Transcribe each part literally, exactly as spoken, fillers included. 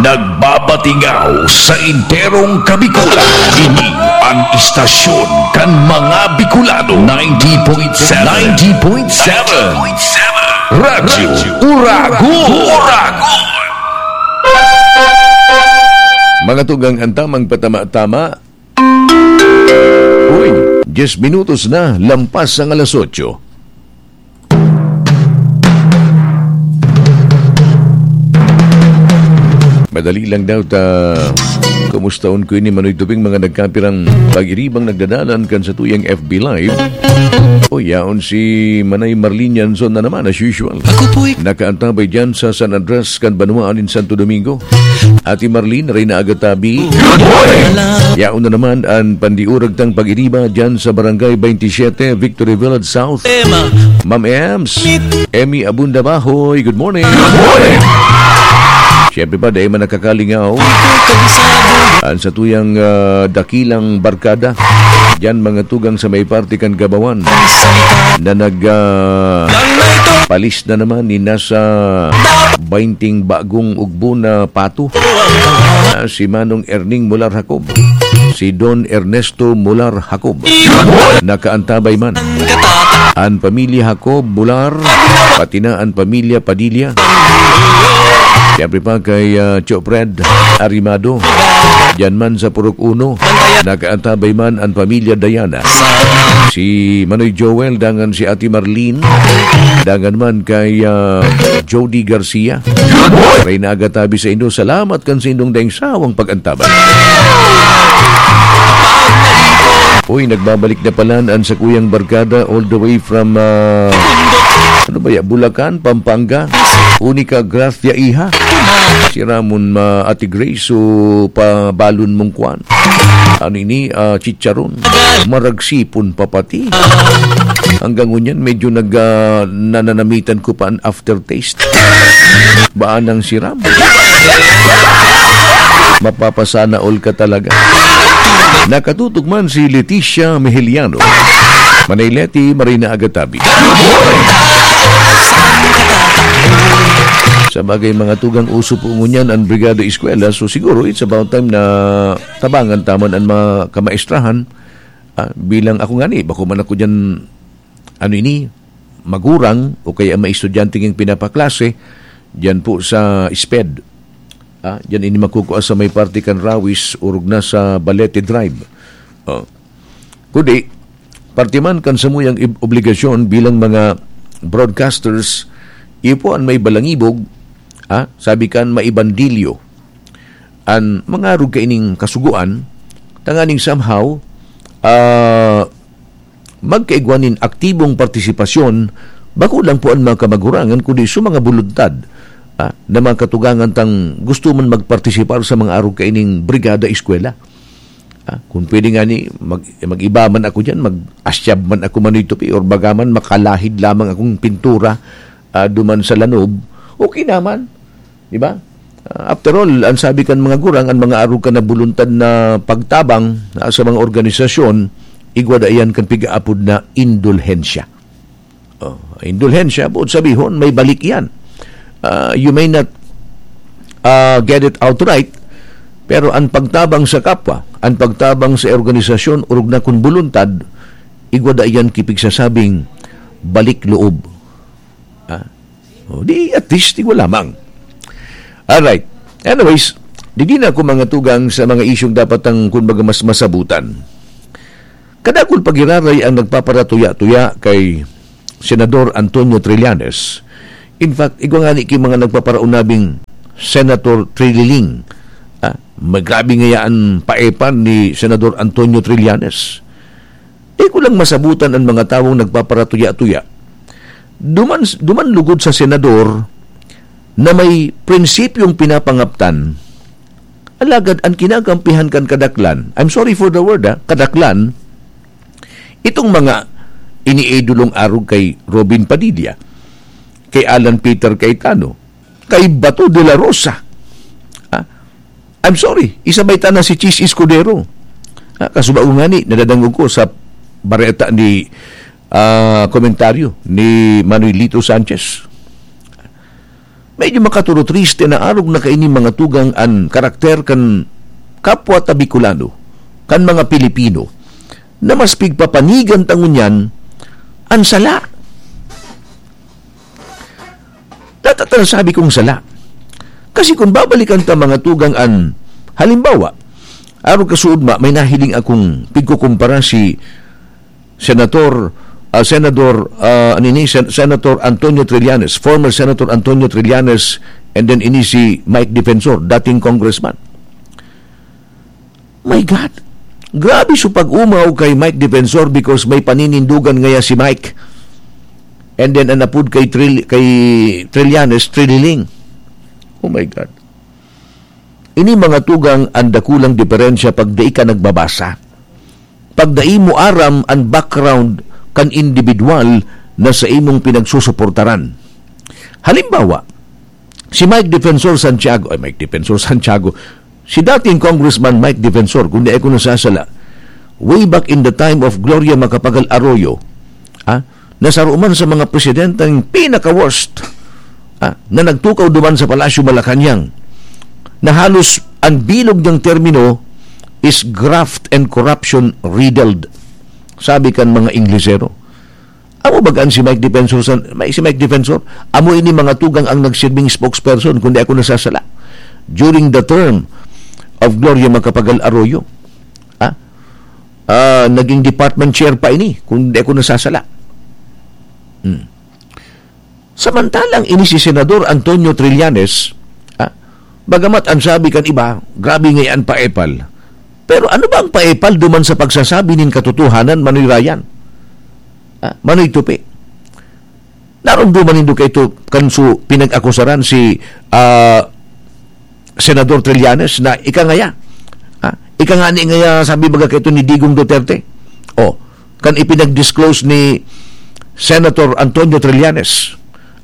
Nagbabatingaw sa enterong Kabikulan. Ini ang istasyon kan mga Bicolano. Ninety point seven. Ninety point seven. Radyo Uragon. Mga tugang, ang tamang patama-tama. Uy, diyes minutos na, lampas ang alas otso. Madali lang daw ta kumustahon ko ini, Manoy Tuping, mga nagkapirang pag-iribang nagdadalan kan satuyang F B Live. O, yaon si Manay Marlene Yanson na naman, as usual. Nakaantabay dyan sa San Andres kan banwaan nin Santo Domingo. Ate Marlene, Reyna Agatabi. Yaon na naman an pandiurag tang pag-iriba dyan sa Barangay twenty-seven, Victory Village South. Ma'am Ems, Emmy Abunda Bahoy, good morning. Good morning. Siyempre pa, dahil man nakakalingaw an satuyang, ah, dakilang barkada dyan, mga tugang, sa may parte kan Gabawan na nag, ah, palis na naman ni nasa bainting bagong ugbo na pato. Ah, si Manong Erning Mular Jacob, si Don Ernesto Mular Jacob. Nakaantabay man an pamilya Jacob Mular, pati na an pamilya Padilla. Siyempre pa kay, ah, Cho Fred Arimado, diyan man sa Purok Uno. Nakaantabay man an pamilya Diana. Si Manoy Joel, dangan si Ate Marlene, dangan man kay, ah, Jody Garcia. Reyna Agatabi sa indo, salamat kan sa indong daing sawang pag-antabay. Uy, nagbabalik na pala an sakuyang barkada all the way from, ah, ano ba ya, Bulacan, Pampanga. Unica Gracia Iha. Si Ramon ma Ate Grace, so pabalon mong kwan. Ano ini, ah, chicharon. Maragsipon pa pati. Hanggang ngunyan, medyo nag, ah, nananamitan ko pa an aftertaste. Baan ang siram? Mapapasana all ka talaga. Nakatutok man si Leticia Mejeliano. Manay Leti, Marina Agatabi. Sa bagay, mga tugang, uso po ngunyan an Brigada Eskwela. So, siguro, it's about time na tabangan ta man an mga kamaestrahan. Ah, bilang ako ngani, bako man ako diyan, ano ini, magurang o kaya may estudyante king pinapaklase diyan po sa SPED. Ah, diyan ini makukua sa may parte kan Rawis, orog na sa Balete Drive. Oh. Kundi, parte man kan samuyang ib-, obligasyon bilang mga broadcasters, iyo po an may balangibog, ah, sabi kan maibandilyo an mangarog kaining kasugoan, tanganing somehow, ah, magkaigwa nin aktibong partisipasyon, bako lang po an mga kamagurangan, kundi sa mga buluntad, ah, na mga katugangan tang gusto man magpartisipar sa mga arog kaining Brigada Eskwela. Ah, kung pwede nga ni, mag-, mag-iba man ako diyan, mag-asyab man ako, Manoy Tupi, or baga man makalahid lamang akong pintura, ah, duman sa lanob, okay naman. Di ba? Ah, after all, ang sabi kan mga gurang, ang mga arog kan na buluntad na pagtabang, ah, sa mga organisasyon, igwa da iyan kan pigaapod na indulhensya. Oh, indulhensya, buot sabihon, may balik iyan. Ah, you may not, ah, get it outright, pero ang pagtabang sa kapwa, ang pagtabang sa organisasyon, orog na kun buluntad, igwa da iyan kipigsasabing balik loob. Ah? O, di, at least, igwa lamang. Alright. Anyways, digdi na ako mga tugang sa mga isyong dapat ang, kumbaga, mas masabutan. Kadakul pagiraray ang nagpaparatuya-tuya kay Senador Antonio Trillanes. In fact, igwa nga ni ki mga nagpaparaunabing Senator Trililing. Ah, magrabe ngaya an paepan ni Senador Antonio Trillanes. Di ko lang masabutan an mga tawong nagpaparatuya-tuya. Duman, duman lugod sa senador na may prinsipyong pinapangaptan, alagad an kinakampihan kan kadaklan, I'm sorry for the word, ah, kadaklan, itong mga iniidolong arog kay Robin Padilla, kay Alan Peter Cayetano, kay Bato de la Rosa. Ah, I'm sorry, isabay ta na si Chiz Escudero. Ah, kasubago ngani, nadadangog ko sa bareta ni, ah, komentaryo ni Manuelito Sanchez. Medyo makaturutriste na arog na kaini mga tugang an karakter kan kapwa ta Bicolano, kan mga Pilipino, na mas pigpapanigan ta ngunyan an sala. Data ta nasabi kong sala. Kasi kung babalikan ta mga tugang an, halimbawa, arog kasuodma, may nahiling akong pigkukumpara si Senator, ah, Senador, ah, ano ini, Sen-, Senator Antonio Trillanes, former Senator Antonio Trillanes, and then ini si Mike Defensor, dating congressman. My God! Grabe so pag-umaw kay Mike Defensor because may paninindugan ngaya si Mike. And then, an apod kay Tril-, kay Trillanes, Trililing. Oh my God. Ini mga tugang an dakulang diferensya pag dai ka nagbabasa. Pag dai mo aram an background kan indibidwal na sa imong pinagsusuportaran. Halimbawa, si Mike Defensor Santiago, ay, Mike Defensor Santiago, si dating Congressman Mike Defensor, kung di ako nasasala, way back in the time of Gloria Macapagal Arroyo, ah, na saro man sa mga presidenteng pinaka-worst, ah, na nagtukaw duman sa Palasyo Malacañang, na halos an bilog niyang termino is graft and corruption riddled, sabi kan mga Inglesero. Amo baga an si Mike Defensor san-, may, si Mike Defensor, amo ini mga tugang ang nagsirbing spokesperson, kung di ako nasasala, during the term of Gloria Macapagal Arroyo. Ah? Ah, naging department chair pa ini, kung di ako nasasala. Hmm. Samantalang ini si Senador Antonio Trillanes, ah, bagamat an sabi kan iba, grabe ngaya an paepal. Pero ano ba ang paepal duman sa pagsasabi nin katotohanan, Manoy Ryan? Ah, Manoy Tupi? Naromdoman nindo kaito kan su pinag-akusaran si, ah, Senador Trillanes na ika ngaya, ah, ika ngani ngaya, sabi baga kaito ni Digong Duterte. Oh, kan ipinag-disclose ni Senator Antonio Trillanes,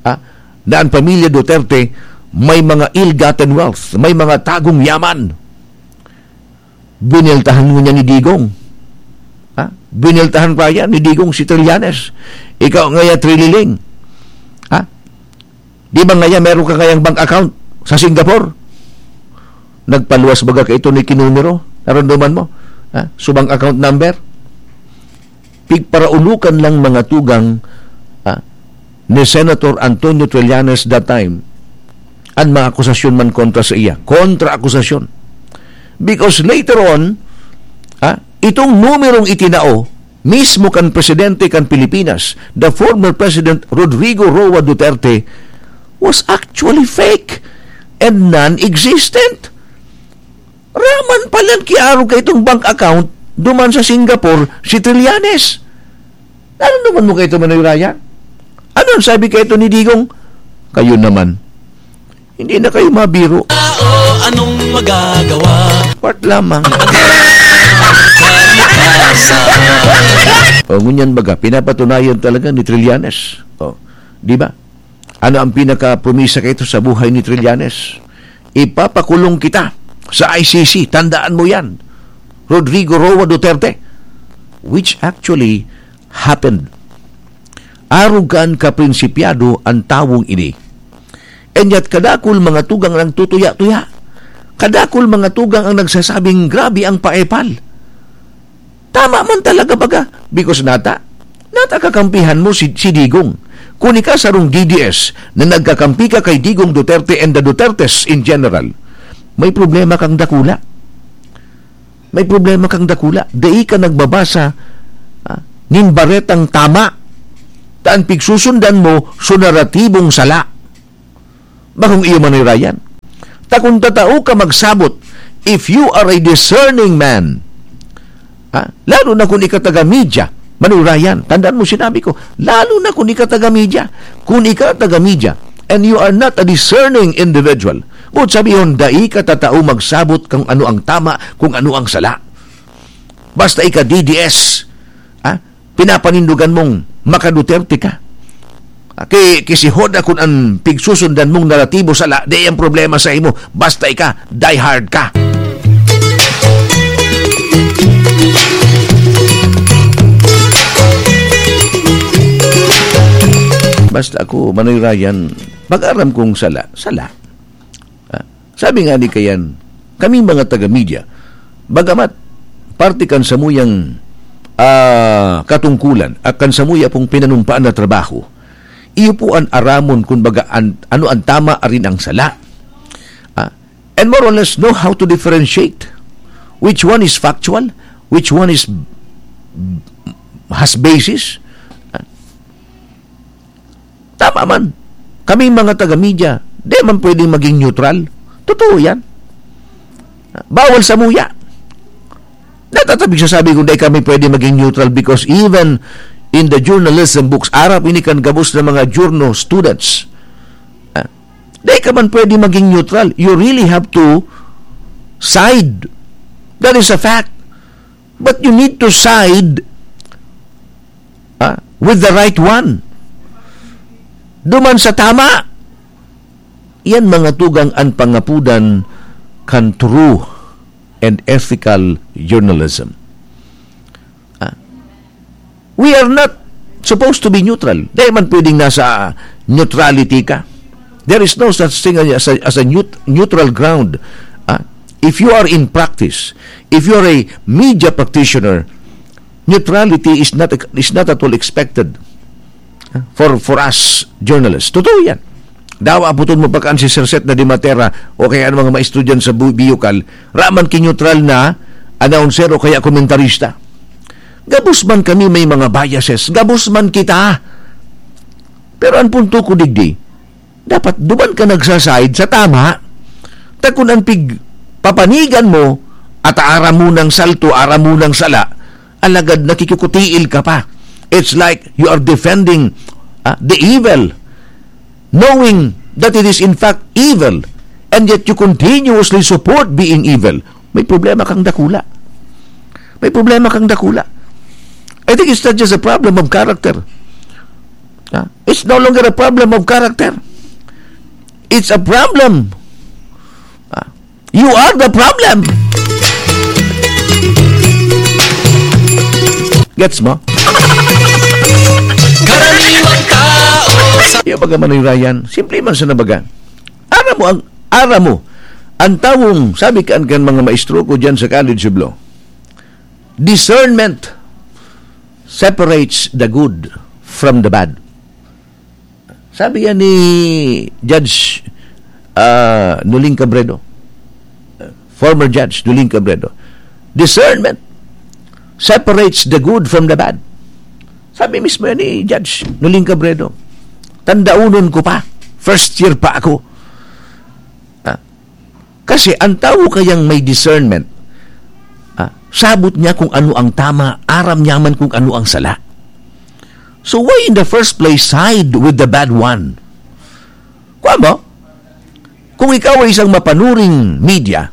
ah, na an pamilya Duterte may mga ill-gotten wealth, may mga tagong yaman. Bineltahan ngunyan ni Digong. Ha? Bineltahan pa yan ni Digong si Trillanes. Ikaw ngaya, Trililing. Ha? Di ba ngaya meron ka ngayang bank account sa Singapore? Nagpaluwas baga kaito ni kinumero? Naramdaman mo? Ha? So, bank account number? Pigparaulokan lang mga tugang, ah, ni Senator Antonio Trillanes that time an mga akusasyon man kontra sa iya. Kontra-akusasyon. Because later on, ah, itong numerong itinao mismo kan presidente kan Pilipinas, the former President Rodrigo Roa Duterte, was actually fake and non-existent. Raman palan kiarog kaitong bank account duman sa Singapore si Trillanes. Naramdaman mo kaito, Manoy Ryan? Ano an sabi kaito ni Digong? Kayo naman. Hindi na kayo mabiro. Tao, anong magagawa? Part lamang. Ang kalikasan. O, ngunyan baga, pinapatunayan talaga ni Trillanes. O, di ba? Ano ang pinakapromisa kaito sa buhay ni Trillanes? "Ipapakulong kita sa I C C, tandaan mo yan, Rodrigo Roa Duterte." Which actually happened. Arog kan kaprinsipyado an tawong ini. And yet, kadakul mga tugang ang nagtutuya-tuya. Kadakul mga tugang ang nagsasabing, "Grabe ang paepal." Tama man talaga baga, because nata, nata kakampihan mo si, si Digong. Kun ika sarong D D S na nagkakampi ka kay Digong Duterte and the Dutertes in general, may problema kang dakula. May problema kang dakula. Dai ka nagbabasa, ah, nin baretang tama. Ta an pigsusundan mo, so naratibong sala. Bakong iyo, Manoy Ryan. Ta kun tatao ka magsabot, if you are a discerning man, ha? Lalo na kun ika taga media, Manoy Ryan, tandaan mo sinabi ko, lalo na kun ika taga media. Kun ika taga media, and you are not a discerning individual, boot sabihon, dai ka tatao magsabot kung ano ang tama, kung ano ang sala. Basta ika D D S, ha? Pinapanindugan mong maka-Duterte ka. Ki-, kisihoda kun an pigsusundan mong naratibo sala, di ang problema sa imo. Basta ika, die hard ka. Basta ako, Manoy Ryan, Pag-aram kong sala, sala. Ah, sabi nga ni Kayan, kami mga taga-media, bagamat parte kan samuyang, ah, katungkulan at kan samuya pong pinanumpaan na trabaho, iyo po an aramon kun baga an, ano an tama arin ang sala. Ah, and more or less know how to differentiate which one is factual, which one is, has basis. Ah, tama man. Kaming mga taga-media, di man pwedeng maging neutral. Totoo yan. Bawal samuya. Natatabig sa sabi kung di kami pwede maging neutral because even in the journalism books, arap ini kan gabos na mga journo students. Ah, di ka man pwede maging neutral. You really have to side. That is a fact. But you need to side, ah, with the right one. Duman sa tama. Yan mga tugang an pangapudan kan true and ethical journalism. Ah, we are not supposed to be neutral. Di man pwedeng nasa neutrality ka. There is no such thing as a, as a neut-, neutral ground. Ah, if you are in practice, if you are a media practitioner, neutrality is not, is not at all expected, ah, for, for us journalists. Totoo yan. Dawa aputon mo pa kan si Sir Seth na di matera o kaya ang mga maestudyan sa bu-, Biyukal, raman ki neutral na announcer o kaya komentarista. Gabos man kami may mga biases, gabos man kita. Pero ang punto ko digdi, dapat duman ka nagsaside sa tama. Ta kun an pig-, papanigan mo, at aram mo ng salto, aram mo ng sala, alagad nakikikutiil ka pa. It's like you are defending, ah, the evil, knowing that it is in fact evil, and yet you continuously support being evil. May problema kang dakula. May problema kang dakula. I think it's not just a problem of character. Ah, it's no longer a problem of character. It's a problem. Ah, you are the problem. Gets mo? Karaniwang tao sa Iyo, baga Manoy Ryan, simple man sa nabaga. Aram mo ang, aram mo, ang tawong, sabi kan, kan mga maestro ko dyan sa College of Law, discernment separates the good from the bad. Sabi yan ni Judge, ah, Noling Cabredo, former Judge Noling Cabredo, "Discernment separates the good from the bad." Sabi mismo yan ni Judge Noling Cabredo. Tandaunon ko pa, first year pa ako. Ah, kasi ang tao kayang may discernment, ah, sabot niya kung ano ang tama, aram niya man kung ano ang sala. So why in the first place side with the bad one? Kuwan mo? Kung ikaw ay isang mapanuring media,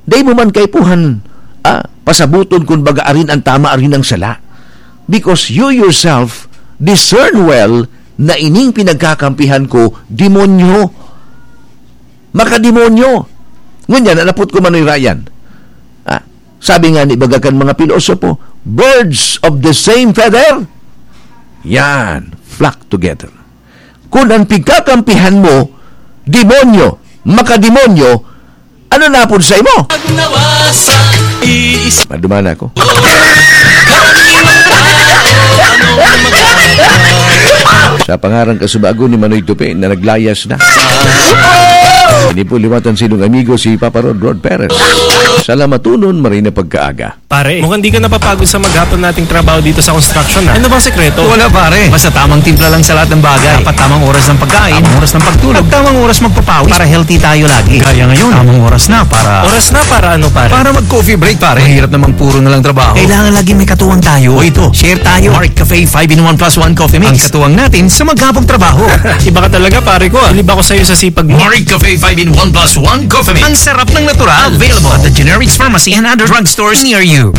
dai mo man kaipuhan, ah, pasabuton kun baga arin ang tama, arin ang sala. Because you yourself discern well na ining pinagkakampihan ko, demonyo. Makademonyo. Ngunyan, nanapot ko, Manoy Ryan. Ah, sabi nga ni baga kan mga pilosopo, "Birds of the same feather, yan, flock together." Kun an pigkakampihan mo, demonyo, makademonyo, ano na pud sa imo? Pag nawasa, iis- Maduman ako. Sa pangarang kasubago ni Manoy Tupi na naglayas na. Ini po liwatan sinong amigo si Papa Rod, Rod Perez. Salamaton, maray na pagkaaga. Pare, mukhang di ka napapagod sa maghapon nating trabaho dito sa construction, ah. Ano bang sekreto? Wala, pare. Basta tamang timpla lang sa lahat ng bagay. Dapat tamang oras ng pagkain, tamang oras ng pagtulog, at tamang oras magpapawis para healthy tayo lagi. Gaya ngayon, tamang oras na para Oras na para ano, pare? Para mag-coffee break, pare. Mahirap namang puro na lang trabaho. Kailangan lagi may katuwang tayo. O ito, share tayo. Mark Cafe five-in-one plus one Coffee Mix. Ang katuwang natin sa maghapong trabaho. Iba ka talaga, pare ko, ah. Bilib ako sa'yo sa sipag mo. Marig Cafe five-in-one plus one Coffee Mix. Ang sarap ng natural. Available at the Generics Pharmacy and other drugstores near you.